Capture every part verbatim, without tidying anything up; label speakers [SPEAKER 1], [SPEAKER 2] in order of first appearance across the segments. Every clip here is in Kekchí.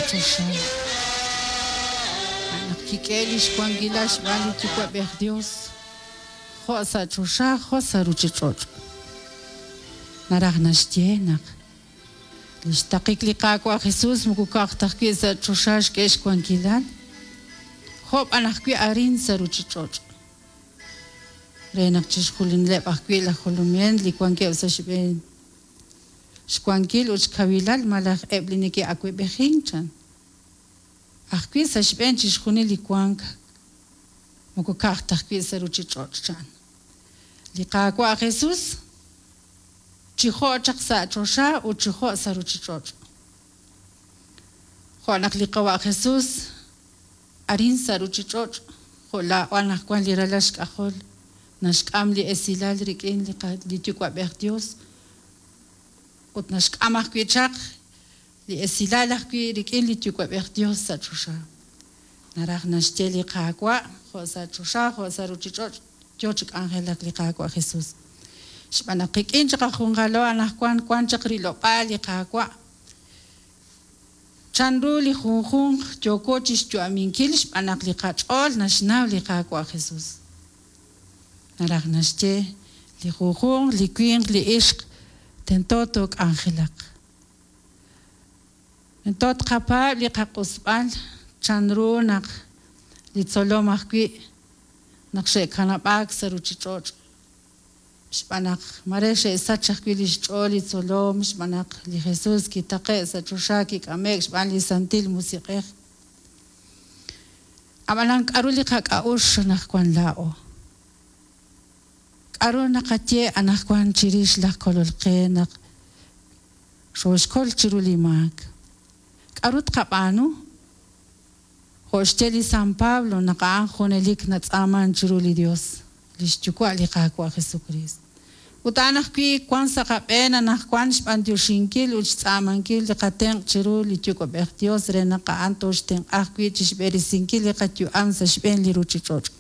[SPEAKER 1] choxa. A' naq kik'ehe' li xwankilal xb'aan li Yuwa'b'ej Dios, jo' sa' choxa jo' sa' ruuchich'och'. Naraj naxye naq li xtaqik li Qaawa' Jesus moko ka'aj ta ajwi' sa' choxa xk'e xwankilal, jo' b'an ajwi' arin sa' ruuchich'och'. Re naq chixjunileb' ajwi' laj jolominel li wankeb' sa' xb'een xwankil ut xkawilal malaj eb' li neke'awab'ejink chan. Ajwi' sa' xb'een chixjunil li wank moko ka'aj ta ajwi' sa' ruuchich'och' chan. Li Qaawa' Jesus chi jo' chaq sa' choxa ut chi jo' sa' ruuchich'och'. Jo' naq li Qawa' Jesus arin sa' ruuchich'och' jo' laa'o anaqwan li ralal xk'ajol naxk'am li esilal rik'in li li Yuwa'b'ej Dios ut naxk'am ajwi' chaq li esilal ajwi' rik'in li Yuwa'b'ej Dios sa' choxa. Naraj naxye li Qaawa' jo' sa' choxa jo' sa' ruuchich'och' yo chi k'anjelak li Qaawa' Jesus. Xb'aan naq qik'in chaq ajunjalo anaqwan wan chaq rilob'aal li Qaawa'. Chanru li junjunq yooko chixyu'aminkil xb'aan naq li qach'ool naxnaw li Qaawa' Jesus. Naraj naxye li junjunq, li winq, li ixq tento took'anjelaq. Tento tqapaab' li qaq'usb'al chanru naq li tzolom ajwi' naq xe'kanab'aak sa' ruuchich'och'. Xb'aan naq mare xe'sach ajwi' li xch'ool li tzolom xb'aan naq li Jesus kitaqe' sa' choxa kik'ame'k xb'aan li Santil Musiq'ej. Ab'anan k'aru li qak'a'uxl anaqwan laa'o? K'aru naqaye anaqwan chirix laj kolol qe naq xooxkol chiru li maak? K'aru tqab'aanu? Jo' xye li San Pablo naq a'an junelik natz'aaman chiru li Dios, li xyuwa' li Qaawa' Jesucristo. Ut a'an ajwi' wan sa' qab'een anaqwan xb'antioxinkil ut xtz'aamankil li qatenq' chiru li Yuwa'b'ej Dios re naq a'an tooxtenq'a ajwi' chixb'eresinkil li qayu'am sa' xb'een li ruuchich'och'.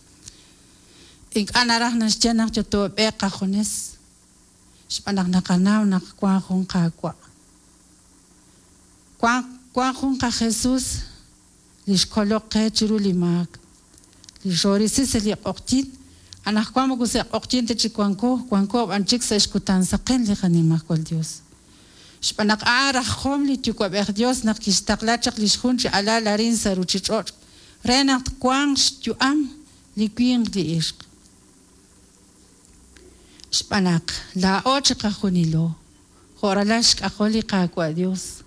[SPEAKER 1] Ink'a' naraj naxye naq yotoob'eeq qajunes, xb'aan naq naqanaw naq wan jun Qaawa'. Wan wan jun qaJesus li xkoloq qe chiru li maak, li xorisi sa' li q'oqyin, anaqwan moko sa' q'oqyin ta chik wanko, wanko b'an chik sa' xkutan saqen li qanimajwal Dios. Xb'aan naq a'an rajom li Yuwa'b'ej Dios naq kixtaqla chaq li xjun chi alal arin sa' ruuchich'och' re naq twanq xyu'am li winq li ixq. Xb'aan naq laa'o chiqajunilo jo' ralal xk'ajol li Qaawa' Dios.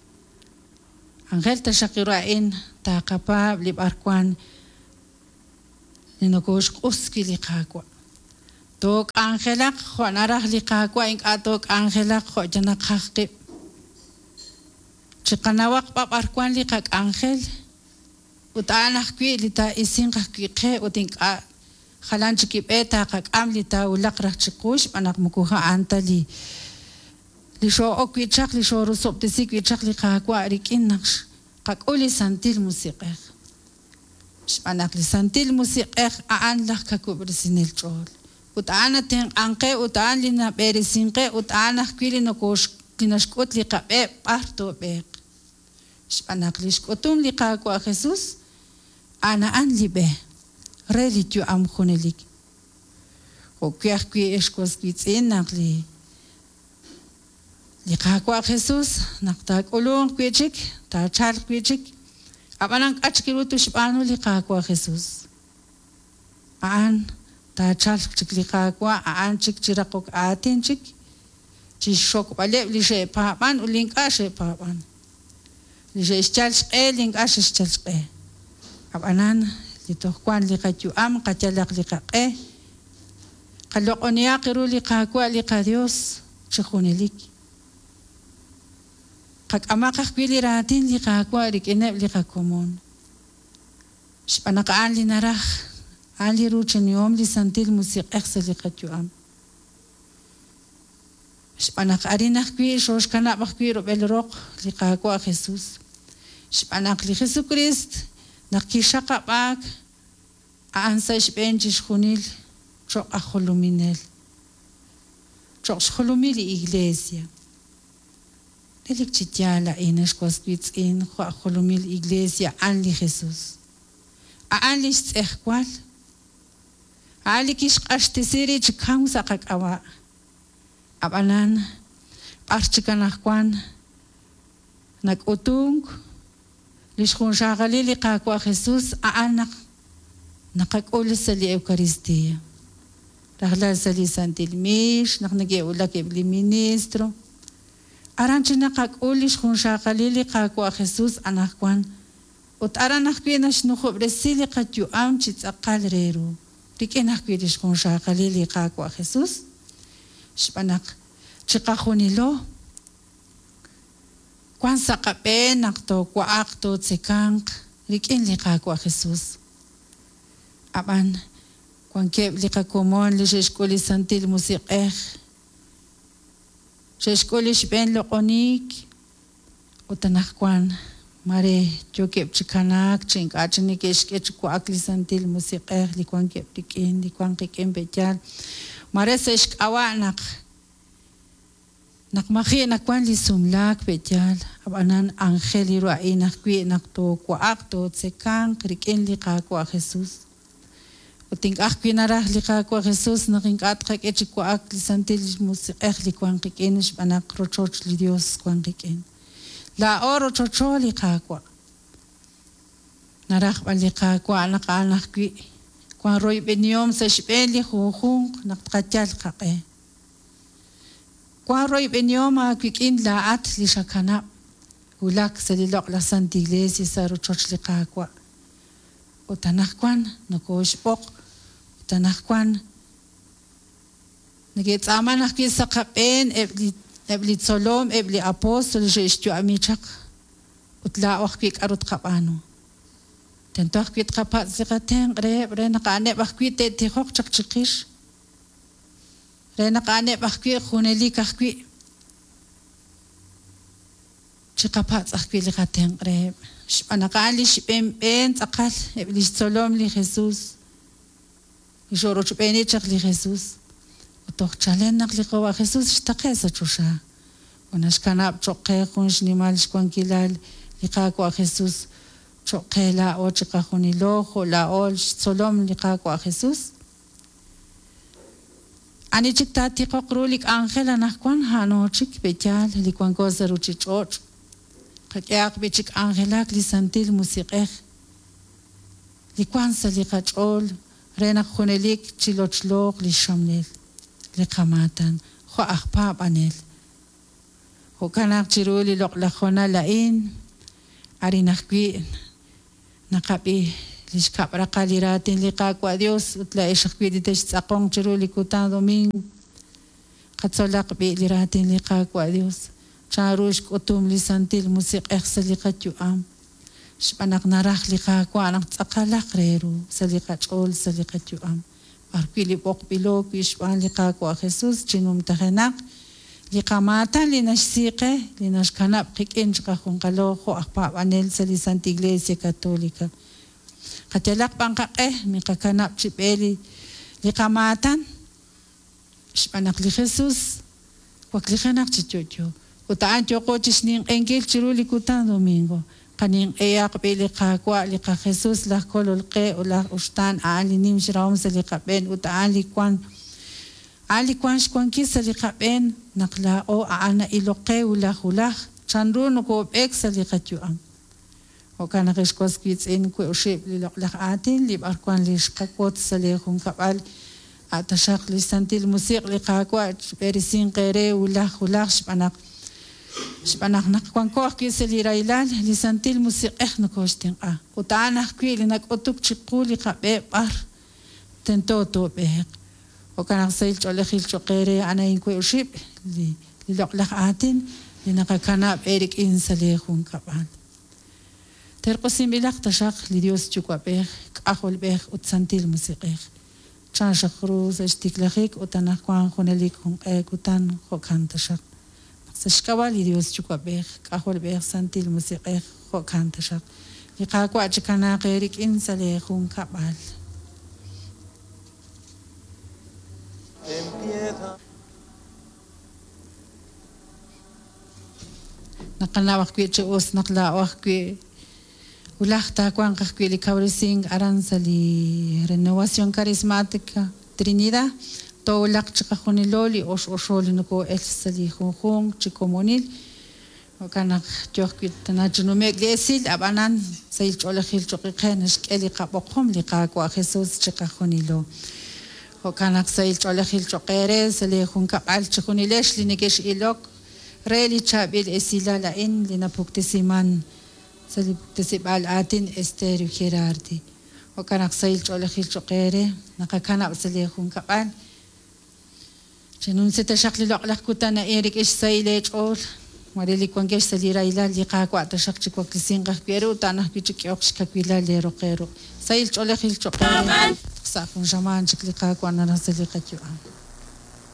[SPEAKER 1] Angel taxaq ru a'in taqapaab' li b'arwan li nokooxq'us wi' li Qaawa'. Took'anjelaq jo' naraj li Qaawa' ink'a' took'anjelaq jo' yanaqaj qib'. Chiqanawaq b'ab'arwan li qak'anjel ut a'an ajwi' li taa'isinq ajwi' qe ut ink'a' jalan chik ib'e taqak'am li taawulaq raj chiqu xb'aan naq moko a'an ta li li xoo'ok wi' chaq li xoorusob'tesi wi' chaq li Qaawa' rik'in naq qak'ul li Santil Musiq'ej. Xb'aan naq li Santil Musiq'ej a'an laj kakub'resinel ch'ool. Ut a'an natenq'anqe ut a'an li nab'eresinqe ut a'an ajwi' li nokoox li naxk'ut li qab'e b'ar toob'eeq. Xb'aan naq li xk'utum li Qaawa' Jesus a'an a'an li b'e re li yu'am junelik. Jo'wi' ajwi' ex was wiitz'in naq li li Qaawa' Jesus naq taak'ulunq wi' chik, taachalq wi' chik, ab'anan k'a chik ru tuxb'aanu li Qaawa' Jesus. A'an taachalq chik li Qaawa', a'an chik chiraqok aatin chik, chixxokb'aleb' li xe'paab'an ut li ink'a' xe'paab'an. Li xe'xyal xq'e, li ink'a' xe'xyal xq'e. Ab'anan li toj wan li qayu'am, qayalaq li qaq'e, qaloq'onihaq ru li Qaawa' li qaDios chi junelik. Qak'amaq ajwi' li raatin li Qaawa' rik'ineb' li qakomon. Xb'aan naq a'an li naraj, a'an li ruuchinihom li Santil Musiq'ej sa' li qayu'am. Xb'aan naq arin ajwi' xooxkanab' ajwi' rub'el roq li Qaawa' Jesus. Xb'aan naq li Jesucrist naq kixaqab'aak a'an sa' xb'een chixjunil cho'q aj jolominel, cho'q xjolomil li Iglesia. Relik chi yaal a'in ex was wiitz'in jo' aj jolomil iglesia a'an li Jesús. A'an li xtz'ejwal. A'an li kixq'axtesi rib' chi kaw sa' qak'ab'a'. Ab'anan b'ar chik anaqwan nak'utunk li xjunxaqalil li Qaawa' Jesús a'an naq naqak'ul sa' li Eucaristía. Rajlal sa' li Santil Miix, naq neke'wulak eb' li ministro. Aran chi naqak'ul li xjunxaqalil li Qaawa' Jesús anaqwan ut aran ajwi' naxnujob'resi li qayu'am chi tz'aqal re ru. Rik'in ajwi' li xjunxaqalil li Qaawa' Jesús. Xb'aan naq chiqajunilo wan sa' qab'een naq toowa'aq tootzekanq rik'in li Qaawa' Jesús. Ab'an wankeb' li qakomon li xe'xk'ul li Santil Musiq'ej, xe'xk'ul li xb'een loq'oniik ut anaqwan mare yookeb' chi kanaak chi ink'a' chi neke'xk'e chi wa'ak li Santil Musiq'ej li wankeb' rik'in li wan qik'in pe'yaal. Mare sa' xk'ab'a' naq naq maji' nawan li sumlaak pe'yaal, ab'anan anjel li ru a'in ajwi' naq toowa'aq tootzekanq rik'in li Qaawa' Jesús. Ut ink'a' ajwi' naraj li Qaawa' Jesús naq ink'a' tqak'e chi wa'ak li Santil Musiq'ej li wan qik'in xb'aan naq rochoch li Dios wan qik'in. Laa'o rochocho li Qaawa'. Naraj b'an li Qaawa' naq a'an ajwi' wan royb'enihom sa' xb'een li junjunq naq tqayal qaq'e. Wan royb'enihom aawik'in laa'at li xakanab' wulak sa' li loq'laj Santa Iglesia sa' rochoch li Qaawa'. Ut anaqwan nokooxb'oq, ut anaqwan neke'tz'aaman ajwi' sa' qab'een eb' li eb' li tzolom, eb' li apóstol xe'xyu'ami chaq ut laa'o ajwi' k'aru tqab'aanu. Tento ajwi' tqapatz' li qatenq' reheb' re naq a'aneb' ajwi' te'tijoq chaq chiqix. Re naq a'aneb' ajwi' junelik ajwi' chiqapatz' ajwi' li qatenq' reheb'. Xb'aan naq a'an li xb'een b'een tz'aqal eb' li xtzolom li Jesús. Li xo'rochb'eeni chaq li Jesús. Ut toj chalen naq li Qaawa' Jesús xtaqe' sa' choxa. Ut naxkanab' cho'q qe jun xnimal xwankilal li Qaawa' Jesús cho'q qe laa'o chiqajunilo jo' laa'o xtzolom li Qaawa' Jesús. Ani chik taatiqoq ru li k'anjel anaqwan a'ano chik pe'yaal li wanko sa' ruchich'och'. Qak'ehaq b'i chi k'anjelak li Santil Musiq'ej li wan sa' li qach'ool re naq junelik chilochloq li xxamlel li qamaatan jo' aj paab'anel. Jo'kan naq chiru li loq'laj hoonal a'in arin ajwi' naqab'i li xkab' raqal li raatin li Qaawa' Dios ut laa'ex ajwi' li textz'aqonq chiru li kutan domingo. Qatzolaq b'i li raatin li Qaawa' Dios. Chanru xk'utum li Santil Musiq'ej sa' li qayu'am. Xb'aan naq naraj li Qaawa' naq tz'aqalaq re ru sa' li qach'ool sa' li qayu'am. B'arwi' li b'oqb'ilo wi' xb'aan li Qaawa' Jesús chinumtajenaq li qamaatan li naxsiiqe li naxkanab' qik'in chiqajunqalo jo' aj paab'anel sa' li Santa Iglesia Católica. Qayalaq b'an qaq'e miqakanab' chi b'e li li qamaatan xb'aan naq li Jesús waklijenaq chi yo'yo. Ut a'an yoqo chi xninq'enkil chiru li kutan domingo. Qaninq'ehaq b'i li Qaawa' li qaJesús laj kolol qe ut laj uxtaan a'an li nim xrahom sa' li qab'een ut a'an li wan a'an li wan xwankil sa' li qab'een naq laa'o a'an na'ilok qe wulaj wulaj chanru nokoob'eek sa' li qayu'am. Jo'kan naq ex was wiitz'in we oxib' li loq'laj aatin li b'arwan li xqawotz sa' li junkab'al a' taxaq li Santil Musiq' li Qaawa' xb'eresinq eere wulaj wulaj xb'aan naq xb'aan naq naq wanko ajwi' sa' li rahilal li Santil Musiq'ej nokooxtenq'a. Ut a'an ajwi' li nak'utuk chiqu li qab'e b'ar tento toob'eeq. Jo'kan naq sahil ch'oolejil cho'q eere a'an a'in we oxib' li li loq'laj aatin li naqakanab' eerik'in sa' li junkab'al. Terq'usinb'ilaq taxaq li Dios Yuwa'b'ej, K'ajolb'ej ut Santil Musiq'ej. Chan xaq ru sa' xtiklajik ut anaqwan junelik junq'e kutan jo'kan taxaq. Sa' xk'ab'a' li Dios Yuwa'b'ej, K'ajolb'ej, Santil Musiq'ej jo'kan taxaq. Li Qaawa' chikanaaq eerik'in sa' li junkab'al.
[SPEAKER 2] Empieza.
[SPEAKER 1] Naqanaw ajwi' chi us naq laa'o ajwi' wulaj taawanq ajwi' li kawresink aran sa' li Renovación Carismática Trinidad. Toowulaq chiqajunilo li ox oxo li noko'el sa' li junjunq chi komonil. Jo'kan naq yo ajwi' tana chi nume'k li esil, ab'anan sahil ch'oolejil cho'q qe naxk'e li qab'oqom li Qaawa' Jesús chiqajunilo. Jo'kan naq sahil ch'oolejil cho'q eere sa' li junkab'al chijunilex li nekex'ilok re li chaab'il esilal a'in li napuktesiman sa' li puktesib'aal aatin Estéreo Gerardi. Jo'kan naq sahil ch'oolejil cho'q eere naqakanab' sa' li junkab'al. Chenumsi taxaq li loq'laj kutan a'in rik'in xsahil eech'ool. Mare li wankex sa' li rahilal li Qaawa' taxaq chi waklesinq ajwi' eeru ut a'an ajwi' chi k'ehok xkawilal eeroq eeru. Sahil ch'oolejil cho'q eere sa' jun xamaan chik li Qaawa' naraj sa' li qayu'am.